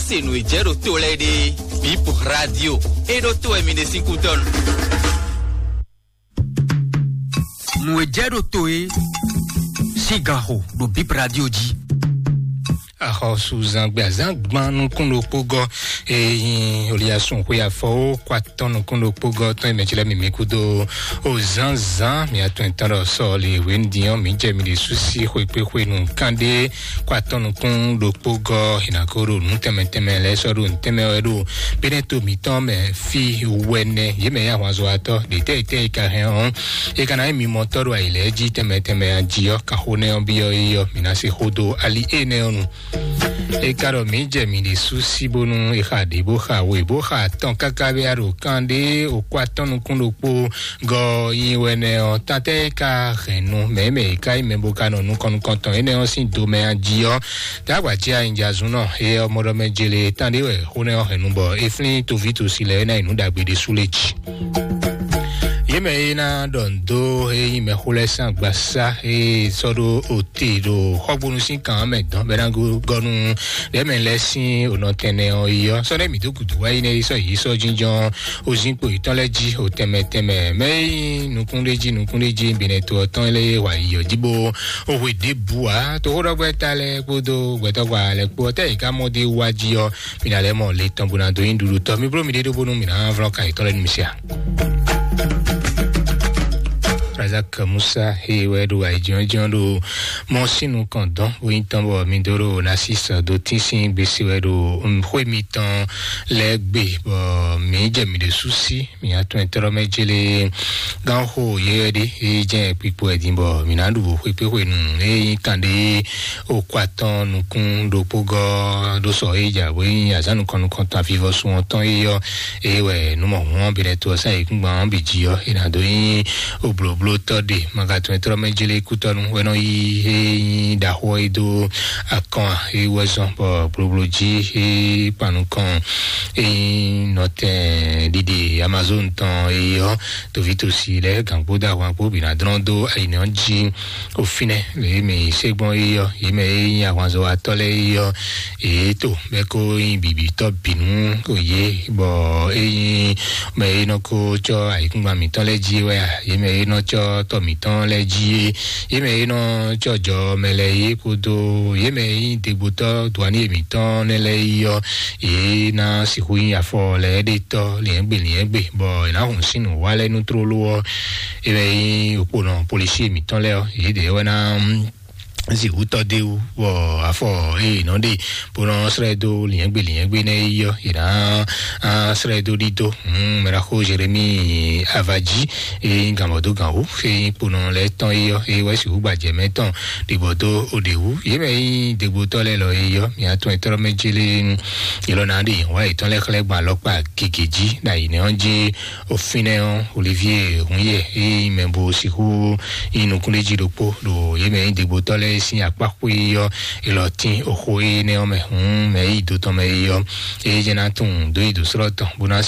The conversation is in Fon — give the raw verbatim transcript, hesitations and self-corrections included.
Se nǔ e jɛ ɖo to lɛ́ɛ ɖe, Bip Radio e ɖo to wɛ mi ɖe sín kútɔ́ nu. Nǔ e jɛ ɖo to e sín ganxo ɖo Bip Radio jí. Axɔsúzangbe azán gban nukún ɖokpó gɔ́, e nyí Oliasun xwe afɔwó kó atɔ́ nukún ɖokpó gɔ́ tɔn e mɛ ce lɛ́ɛ mi mi kúdó o zánzán mi atɔn tɔn ɖɔ sɔ́ li wěndiɔn mi jɛ mi ɖe súsí xwekpéxwe nú kánɖé kó atɔ́ nukún ɖokpó gɔ́ hinako ɖo nú tɛnmɛ tɛnmɛ lɛ́ɛ sɔ́ ɖo nǔ tɛnmɛ wɛ ɖo Bɛ́nɛ́to mǐtɔn mɛ fí wɛnɛ yě mɛ yá ahwanzɔ́watɔ́ ɖě tɛ́ e tɛ́ e ka hɛn ɔ́, e ka ná nyí mimɔtɔ́ ɖo ayǐ lɛ́ɛ jí tɛnmɛ tɛnmɛ jí ɔ́, ka xó nɛ́ ɔ́ byɔ́ é ɔ́, mǐ ná se xó dó ali énɛ́ ɔ́ nu. E ka ɖɔ mǐ jɛ mǐ ɖésú sí bónú è xa ɖě bó xa we bó xa atɔn káká bɛ́ ɖo kan ɖé okó atɔ́ nukún ɖokpó gɔ́ nyi wɛ nɛ́ ɔ́, tantɛ́ e ka hɛn nu mɛ̌ mɛ e ka nyí mɛ bó ka nɔ nukɔn nukɔntɔn énɛ́ ɔ́ sín domɛ jí ɔ́, tá agba jí anyinjazúnnɔ é ɔ́ mɔ ɖɔ mɛ jele tán ɖé wɛ xó nɛ́ ɔ́ hɛn nu bɔ é flín toví tosi lɛ́ɛ é ná nyí nǔ ɖagbe ɖésú lé jí. Yě mɛ e ná ɖɔ nǔ dó e nyí mɛxó lɛ́ɛ sín agbasá e sɔ́ ɖó ote ɖo xɔgbónu sín kan ɔ́ mɛ dɔn bɔ é ná gɔ́ nú ɖɛ̌mɛ lɛ́ɛ sín onɔ tɛnɛ ɔ́ yi ɔ́, sɔ́ ɖɛ́ mǐ dó gǔdo wá yi nɛ́ yi sɔ́ yě sɔ́ jínjɔ́n ozínkpo yětɔn lɛ́ɛ jí o tɛnmɛ tɛnmɛ mɛ e nyí nukúnɖéjí nukúnɖéjí binɛto ɔ́ tɔn lɛ́ɛ wa yi ɔ́ jí bó o hwe ɖěbǔ ǎ. Toxóɖɔgbɛ́ta lɛ́ɛ kpódó gbɛtɔ́gbà lɛ́ɛ kpó ɔ́, tɛ́ yě ká mɔ dé wá jí ɔ́, mi ná lɛ́ mɔ le tɔn bó ná dó nyí ɖuɖutɔ́. Mi bló mi ɖé ɖó bónú mi ná vlɔ́ kan yětɔn lɛ́ɛ nú mi se a? Razak Musa he wɛ ɖo ayǐjínjɔ́n ɖo mɔ sín nukɔn dɔn bó nyí tɔn bɔ mi dó ɖo Nasis dó tín sín gbèsè wɛ ɖo xwé mitɔn lɛ́ɛ gbe bɔ mǐ jɛ mǐ ɖésú sí mǐ atɔn tɔ́rɔ mɛ jélé gánxo yɛyɛ ɖé e jɛ kpikpo ɛ din bɔ mǐ ná ɖu xwekpéxwenu e nyí kanɖé okó atɔn nukún ɖokpó gɔ́ ɖó sɔ e ja bó nyí azǎn nukɔn nukɔntɔn avivɔsun ɔ́ tɔn e yɔ e wɛ nǔmɔhún ɔ́ bi lɛ to ɔ́ sá yǐkúngban ɔ́ bǐ jí ɔ́, è nǎ dó nyí oblǒblótɔ́ ɖe. Magatɔn e tlɔ́ mɛ jélé kútɔ́nu wɛ nɔ yí e nyí ɖaxó e dó akɔn e wɛ zɔn bɔ blóbló jí e kpan nukɔn e nyí nɔtɛn ɖiɖe Amazon tɔn e yɔ tovítòsí lɛ́ɛ gǎngbó dó ahwan kpó bǐ ná dlɔ́n dó ayǐnɛ ɔ́ jí. Ofinɛ lě e mǐ se gbɔn yi ɔ́, yě mɛ e nyí ahwanzɔ́watɔ́ lɛ́ɛ yi ɔ́, yě to bɛ́ kó nyí bǐbítɔ́ bǐnú kò yé, bɔ é nyí mɛ e nɔ ko cɔ́ ayǐkúngban mǐtɔn lɛ́ɛ jí wɛ a, yě mɛ e nɔ cɔ́ tɔ mǐtɔn lɛ́ɛ jí é, yě mɛ e nɔ cɔ́ jɔ mɛ lɛ́ɛ yé kpódó yě mɛ e nyí degbotɔ́ duaní mǐtɔn nɛ́ lɛ́ɛ yi ɔ́, yě ná sixú nyí afɔ lɛ́ɛ ɖe tɔ́ liɛ̌ngbe liɛ̌ngbe, bɔ è nǎ hun sín nǔ wa lɛ́ɛ nú tlóló ɔ́, é wɛ nyí òkponɔ polisi mǐtɔn lɛ́ɛ ɔ́, yědɛɛ wɛ ná zi wútɔ́ dé wú, bɔ afɔ eye nɔ ɖe bó nɔ srɛ́ dó liɛ̌ngbe liɛ̌ngbe nɛ́ yi ɔ́, yě ná srɛ́ dó ɖídó. Mɛɖaxó Jeremi Avaji e nyí gǎnbɔdógǎnwú e nyí kponɔ lɛ́ɛ tɔn yi ɔ́, e wɛ sixú gbajɛ mɛ tɔn ɖibɔ dó oɖě wú. Yě mɛ e nyí degbotɔ́ lɛ́ɛ lɔ yi ɔ́, mǐ atɔn etɔ́ mɛ jélé yě lɔ ná ɖe yěhɔn wá yětɔn lɛ́ɛ xlɛ́ gbɔn alɔkpa gěgé jí ɖo ayǐnɛ ɔ́ jí. Ofinɛ ɔ́, Olivier Hunyɛ e nyí mɛ bo sixú nyí nukúnɖéjí ɖokpó ɖo yě mɛ nyí degbotɔ́ lɛ́ɛ sín akpá xwé ɔ́, è lɔ tín oxó énɛ́ ɔ́ mɛ. Hǔn mɛ e yi do tɔn mɛ yi ɔ́, é jɛ ná tunwun dó yi dǒ slɔ́ tɔn bó ná